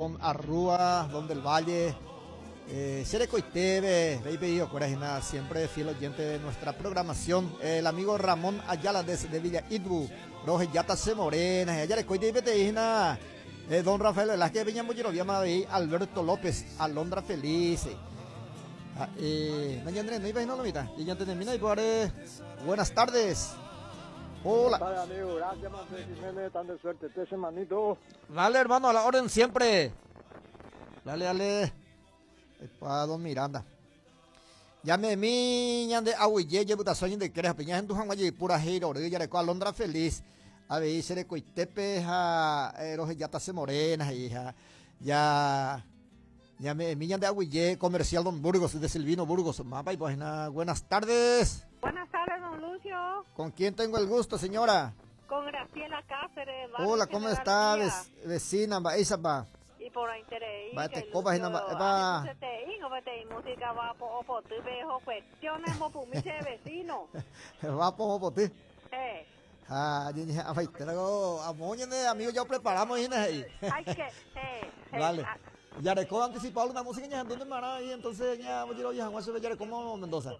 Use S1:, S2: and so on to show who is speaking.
S1: Don Arrúa, Don del Valle, eh, Serecoiteve, siempre fiel oyente de nuestra programación. El amigo Ramón Ayala desde Villa Idbu, Roge Yata Se Morena, eh, Don Rafael Velázquez Viña Alberto López, Alondra Felice. Ah, eh, Buenas tardes. Hola.
S2: Buenas tardes, amigo. Gracias, Manfred Jiménez. Tan de suerte. Este semanito.
S1: Dale, hermano, a la orden siempre. Dale, dale. Pa, don Miranda. Llame mi ñande aguille yebutasoñi de creja piña en tu pura heiro yareko alondra feliz. A ver, serecoitepe ja eh, se morena hija. Ya Llame mi ñande aguille comercial Don Burgos de Silvino Burgos. Mapa y pues buenas tardes.
S3: Buenas tardes, don Lucio.
S1: ¿Con quién tengo el gusto, señora?
S3: Con Graciela Cáceres.
S1: Hola, ¿cómo está, vecina? Va, esa va.
S3: Y por interés.
S1: Va, te copa, va.
S3: Música va po po tu vejo cuestiones mo pumiche vecino.
S1: Va po po ti. Eh. Ah, amigo, ya preparamos
S3: ahí. Ay, que,
S1: eh. Vale. Ya recuerdo anticipado una música ya ¿dónde mara y entonces ya voy a ir a ya como Mendoza.